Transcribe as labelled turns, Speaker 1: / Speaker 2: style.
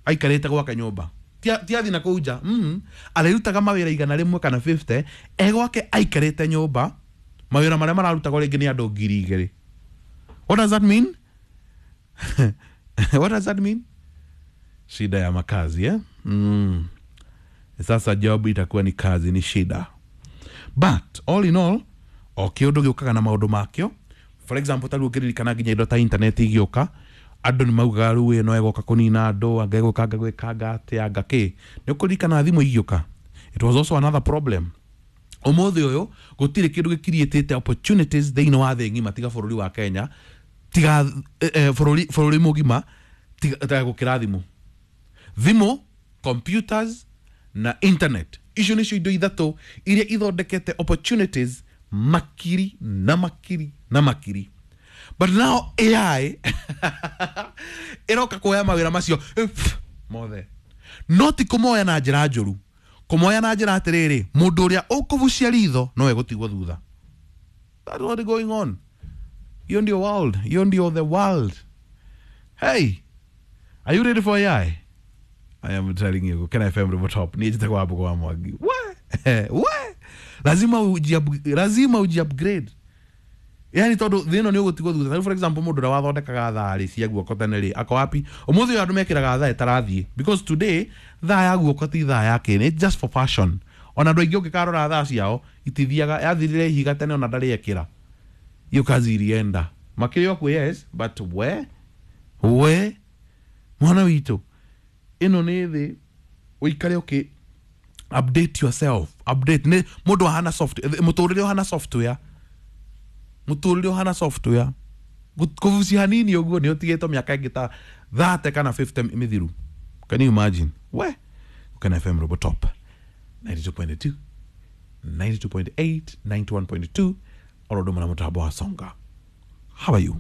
Speaker 1: Aikarĩte gwake nyũmba, ti athi na kũu nja, arĩrutaga mawĩra 100 kana 50 e gwake aikarĩte nyũmba, mawĩra marĩa mararutagwo rĩngĩ nĩ andũ 2000. What does that mean? What does that mean? Shida ya makazi, eh? Sasa job itakuwa ni kazi, ni shida. But all in all, o kĩũndũ gĩũkaga na maũndũ makĩo. For example, ta rĩu ũngĩririkana nginya indo ta internet igĩũka, andũ nĩ maugaga rĩu ĩno ĩgoka kũnina andũ, anga ĩgũka anga gwĩkanga atĩa, anga kĩ. Nĩ ũkũririkana thimũ igĩũka, it was also another problem. Ũmũthĩ ũyũ gũtirĩ kĩndũ gĩkiriĩtĩte opportunities thĩinĩ wa thĩ ng'ima tiga bũrũri wa Kenya, tiga bũrũri mũgima, tiga gũkĩra thimũ. Thimũ, computers na internet, icio nĩcio indo ithatũ iria ithondekete opportunities makiri na makiri na makiri. But now AI ĩroka kuoya mawĩra macio mothe, no ti kũmoya na njĩra njũru, kũmoya na njĩra atĩrĩrĩ, mũndũ ũrĩa ũkũbucia ritho no egũtigwo thutha. That's what is going on. Hiyo ndio world, hiyo ndio the world. Hey, are you ready for AI? I am telling you, Gukena FM River Top. Ni njĩtagwo Wambugu wa Mwangi. We, we. Lazima uji upgrade. Yani tondu thĩ ĩno nĩ ũgũtigwo thutha. Tarĩu for example, mũndũ ũrĩa wathondekaga thaa rĩ cia guoko tene rĩ, ako wapi? Ũmũthĩ ũyũ andũ mekĩraga thaa ĩtarathiĩ. Because today, thaa ya guoko ti thaa ya kĩ, it's just for fashion. Ona andũ aingĩ ũngĩkarora thaa ciao, itithiaga, yathirire ihiga tene ona ndarĩ ekĩra. Hiyo kazi ilienda. Makĩrĩ okuo, yes, but we, mwana witũ, ĩno nĩ thĩ ũikare ũkĩ update yourself, update nĩ mũndũ ahana soft, mũtũrĩre ũhana software, mũtũrĩre ũhana software. Kũbucia hanini ũguo nĩ ũtigĩtwo mĩaka ĩngĩ ta 30 kana 50 mĩthiru. Can you imagine? We, Gukena FM Robo Top 92.2, 92.8, 91.2, oro ũndũ ũmwe na mũtambo wa Songa. How are you?